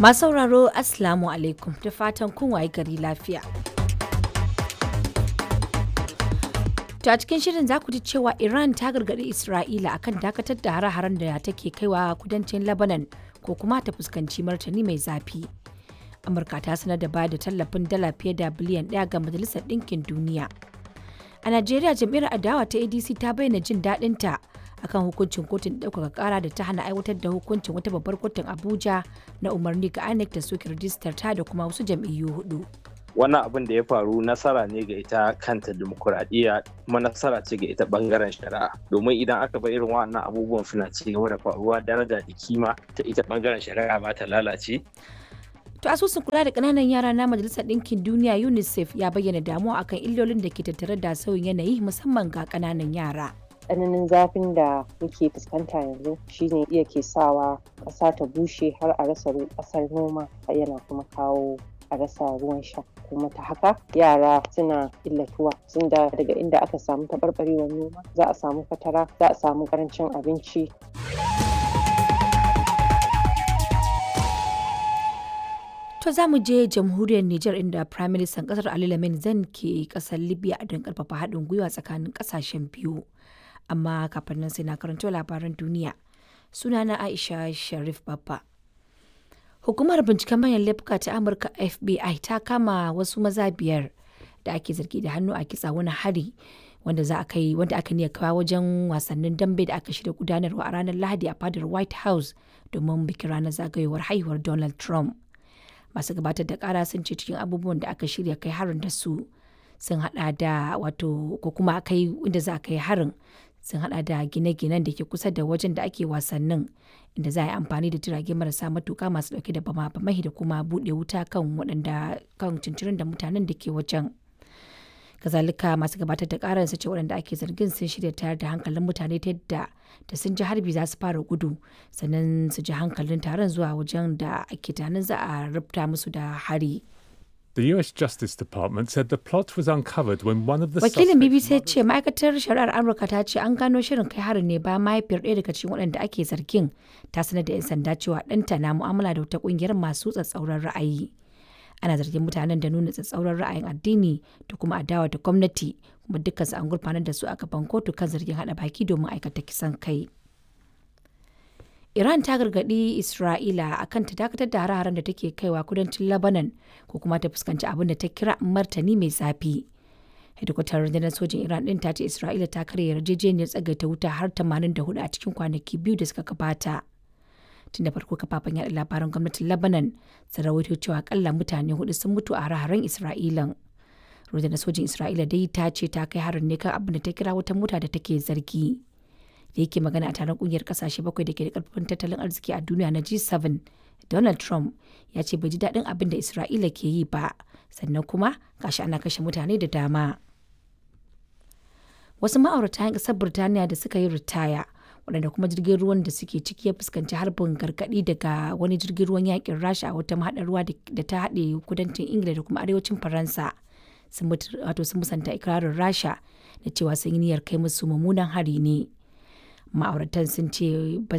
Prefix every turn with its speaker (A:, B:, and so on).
A: Masu sauraro, Assalamu alaikum, da fatan kun waye gari lafiya. To a cikin shirin za ku ji cewa Iran ta gargaɗi Isra'ila akan dakatar da hare-haren da take kaiwa kudancin Lebanon ko kuma ta fuskanci martani mai zafi. Amurka ta sanar da bayar da tallafin dala fiye da biliyan 1 ga Majalisar Ɗinkin Duniya. A Najeriya, jam'iyyar adawa ta ADC ta bayyana jin daɗinta akan hukuncin kotun ɗaukaka ƙara da ta hana aiwatar da hukuncin wata babbar kotun Abuja na umarni ga INEC da soke rijistar ta da kuma wasu jam'iyyu hudu.
B: Wannan abin da ya faru nasara ne ga ita kanta dimokuraɗiyya, kuma nasara ce ga ita bangaren shari'a, domin idan aka bar irin wannan abubuwan suna ci gaba da faruwa, daraja da kima ta ita bangaren shari'a ba ta lalace.
A: To asusun kula da ƙananan yara na Majalisar Ɗinkin Duniya UNICEF ya bayyana damuwa akan illolin da ke tattare da sauyin yanayi, musamman ga ƙananan yara.
C: Tsananin zafin da muke fuskanta yanzu shine iya ke sawa ƙasa ta bushe har a rasa ƙasar noma, yana kuma kawo a rasa ruwan sha, kuma ta haka yara suna illatuwa sun da daga inda aka samu taɓarɓarewar noma za a samu fatara, za a samu ƙarancin abinci.
A: To za mu je jamhuriyar Nijar, inda Prime Minister kasar Ali Lamin Zan ke kasar Libya don karfafa haɗin gwiwa tsakanin kasashen biyu. Amma kafin nan sai na karanto labaran duniya. Sunana Aisha Sharif Babba. Hukumar binciken manyan laifuka ta Amurka FBI ta kama wasu maza biyar da ake zargi da hannu a kitsa wani hari wanda za a kai, wanda aka niyya kawo wajen wasannin dambe da aka shirya gudanarwa a ranar Lahadi a fadar White House domin bikin ranar zagayowar haihuwar Donald Trump. Masu gabatar da kara sun ce cikin abubuwan da aka shirya kai harin da su sun hada da, wato ko kuma kai inda za a kai harin, sun hada da gine-ginen da ke kusa da wajen da ake wasannin, inda za a yi amfani da jirage marasa matuka masu dauke da bama-bamai da kuma bude wuta kan waɗanda kan cincirin da mutanen da ke wajen. Kazalika, masu gabatar da karar su ce waɗanda ake zargin sun shirya tayar da hankalin mutane ta yadda da sun ji harbi za su fara gudu, sannan su ji hankalin taron zuwa wajen da ake tunanin za a rubuta musu da hari.
D: The US Justice Department said the plot was uncovered when one of the
A: Wakilin
D: suspects'
A: BBC ya ce ma'aikatar shari'ar Amurka ta ce an gano shirin kai harin ne bayan mahaifiyar ɗaya daga cikin waɗanda ake zargin ta sanar da 'yan sanda cewa ɗanta na mu'amala da wata ƙungiyar masu tsatsauran ra'ayi. Ana zargin mutanen da nuna tsatsauran ra'ayin addini da kuma adawa da gwamnati, kuma dukkansu an gurfanar da su a gaban kotu kan zargin haɗa baki domin aikata kisan kai. Iran ta gargaɗi Isra'ila akan ta dakatar da hare-haren da take kaiwa kudancin Lebanon ko kuma ta fuskanci abin da ta kira martani mai zafi. Hedikwatar rundunar sojin Iran ɗin ta ce Isra'ila ta karya yarjejeniyar tsagaita wuta har 84 a cikin kwanaki 2 da suka gabata. Tun da farko kafafen yaɗa labaran gwamnatin Lebanon sun rawaito cewa akalla mutane hudu sun mutu a hare-haren Isra'ilan. Rundunar sojin Isra'ila dai ta ce ta kai harin ne kan abin da ta kira wata mota da take zargi. Da yake magana a taron kungiyar kasashe bakwai da ke da karfin tattalin arziki a duniya na G7, Donald Trump ya ce bai ji daɗin abin da Isra'ila ke yi ba, sannan kuma gashi ana kashe mutane da dama. Wasu ma'aurata 'yan ƙasar Birtaniya da suka yi ritaya, waɗanda kuma jirgin ruwan da suke ciki ya fuskanci harbin gargaɗi daga wani jirgin ruwan yakin Rasha a wata mahaɗar ruwa da ta haɗe kudancin Ingila da kuma arewacin Faransa, sun musanta ikirarin Rasha da cewa sun yi niyyar kai musu mummunan hari ne. Ma'auratan sun ce ba